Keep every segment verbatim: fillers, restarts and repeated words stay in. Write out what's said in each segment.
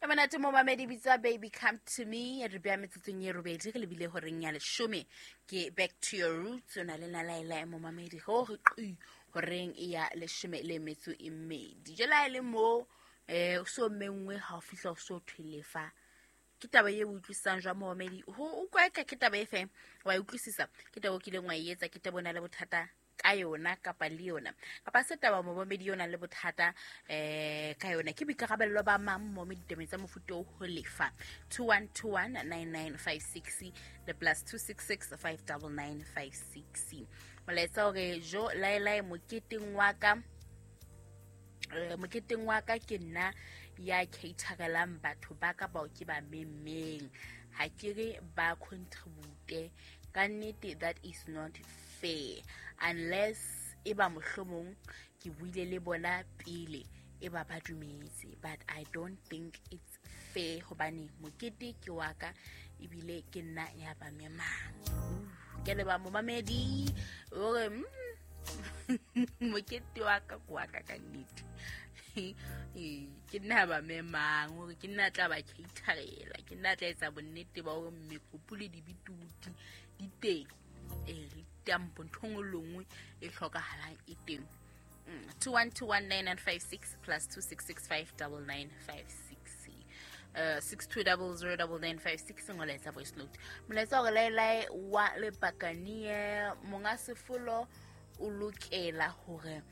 E monate momamedi bitsa Baby Come To Me. Re bea metsotsong e robedi re lebile horeng ya leshome. Ke Back To Your Roots o na le nna Laila momamedi ho re qi horeng ya leshome le metso e mmedi. Jwale ha e le mo eh o so mengwe ha o fihla o so thwe lefa. Ke taba e utlwisisang jwang momamedi? Ho utlwa ka ke taba e fe? Wa e utlwisisa? Ke taba o kileng wa e etsa, ke taba o na le bothata ka yona kapa le yona. Kapa se taba momamedi yona le bothata eh ka yona. Ke boikarabello ba mang momamedi ditabeng tsa mofuta o ho lefa? two one two one nine nine five six le plus two six six five double nine five six. Molaetsa hore jo laelae moketeng wa ka, eh, moketeng wa ka ke nna ya caterelang batho ba ka bao ke ba memmeng. Ha ke re ba contribute. Ka nnete that is not fair unless e ba mohlomong ke buile le bona pele e ba ba dumetse, but I don't think it's fair hobane mokete ke wa ka ebile ke nna ya ba memang. Ke le ba momamedi hore mm, mokete wa ka ke wa ka ka nnete. Ke nna ba memang hore ke nna tla ba caterela, ke nna tla etsa bonnete ba hore mekopu le dibituti di teng. Eh, le tampo ntho nngwe le nngwe e hlokahalang e teng. Mm, two one two one nine nine five six plus two six six five double nine five six. Uh, six two double zero double nine five six molaetsa voice note. Molaetsa hore laelae wa lepakanie monga sefolo o lokela hore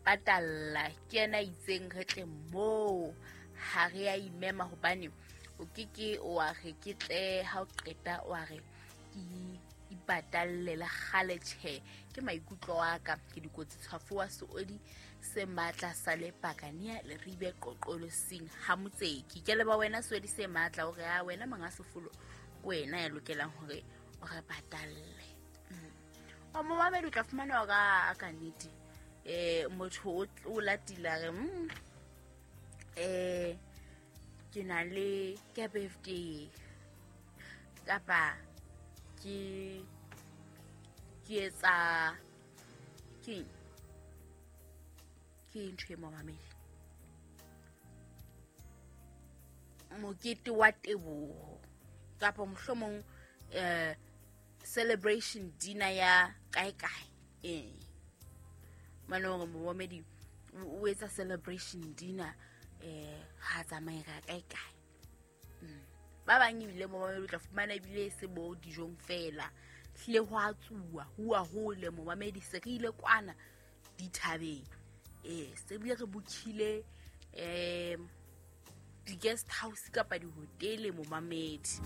patalla ke yena itseng re tle moo ha re a imema hobane o ke ke wa re ke tle ha o qeta wa re ke ipatalle le kgale tjhe. Ke maikutlo a ka ke dikotsi tshwafo wa seodi se matla sa lepakania le ribe qoqolosing ha motseki. Ke leba wena seodi se matla hore a wena monga sefolo ke wena ya lokelang hore o re patalle. O momamedi o tla fumana hore a ka nnete eh motho o latila re mm, eh ke na le ke birthday kapa ke ke etsa ke ke ntho e momamedi mokete wa teboho kapa mohlomong eh celebration dinner ya kae kae. Eh mane hore momamedi o etsa celebration dinner eh ha tsamaye ka kae kae. Mm. Ba bang ebile momamedi o tla fumana ebile se bo dijong fela hlile ho a tsuwa ho a hole momamedi se re ile kwana dithabeng. Eh se bile re bokhile eh di guest house kapa di hotele momamedi.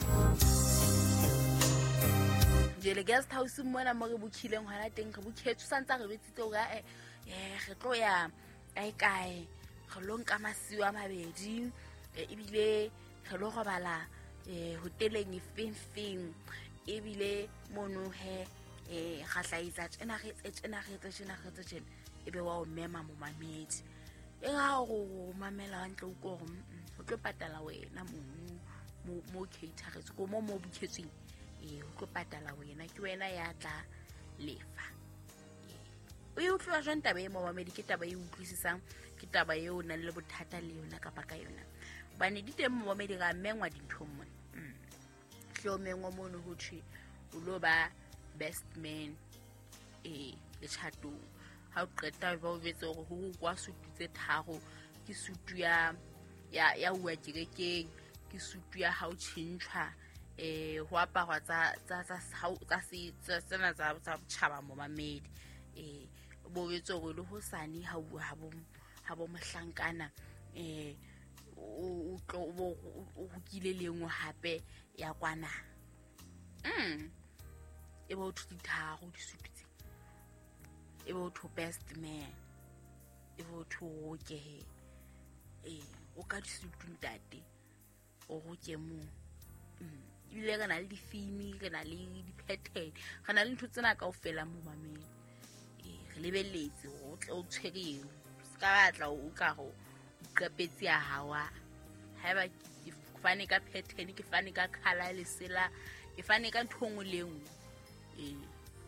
Jele guest house mona mo re bokhileng hona teng re bokhetswe santsa re betsitse hore eh eh re tlo ya kae kae re lo nka masiu a mabedi ebile re lo robala eh hoteleng e feng feng ebile mono he eh ga tla tjena re tjena re tjena re tjena ebe wa o mema momamedi e ga go mamela hantle o ko gore o tlo patala wena mo mo cateretse ko mo mo bukhetsweng eh o tlo patala wena ke wena ya tla lefa. O e utlwa jwang taba e momamedi? Ke taba e utlwisisang, ke taba eo o nang le bothata le yona kapa ka yona? Hobane di teng momamedi ra mengwa dinthong mona. Hle o mengwa mono ho thwe o lo ba best man eh letjhatong. Ha o qeta ba o jwetse hore ho kwa sutu tse tharo, ke sutu ya ya ya uwa kerekeng, ke sutu ya ha o tjhentjhwa eh ho aparwa tsa tsa tsa tsa tsena tsa tsa botjhaba momamedi. Eh bo jwetse hore le hosane ha o ha bo ha bo mohlankana eh o tlo o hokile le nngwe hape ya kwana. Mm e bo thu ditharo disutu tse e bo thu best man e bo thu roke eh o ka disutu ntate o roke mo. Mm ebile re na le difimi, re na le di-pattern, re na le ntho tsena kaofela momamedi. Re lebelletse o tle o tshwere eo se ka batla o ka ho qepetse ya hawa haeba ke fane ka pattern, ke fane ka color lesela, ke fane ka ntho nngwe le nngwe eh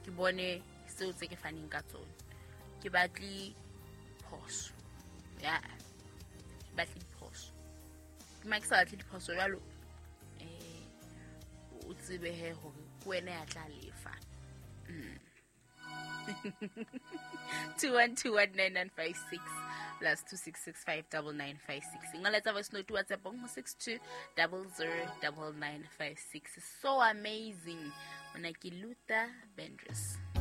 ke bone seo tse ke faneng ka tsona. Ke batle phoso ya ke batle diphoso. Ma ke sa batle diphoso jwalo, eh o tsebe he hore ke wena ya tla lefa. two one two one nine nine five six plus two six six five double nine five six. Ngoletsa voice note WhatsApp ho six two double zero double nine five six. So amazing. Mona ke Luther Vandross.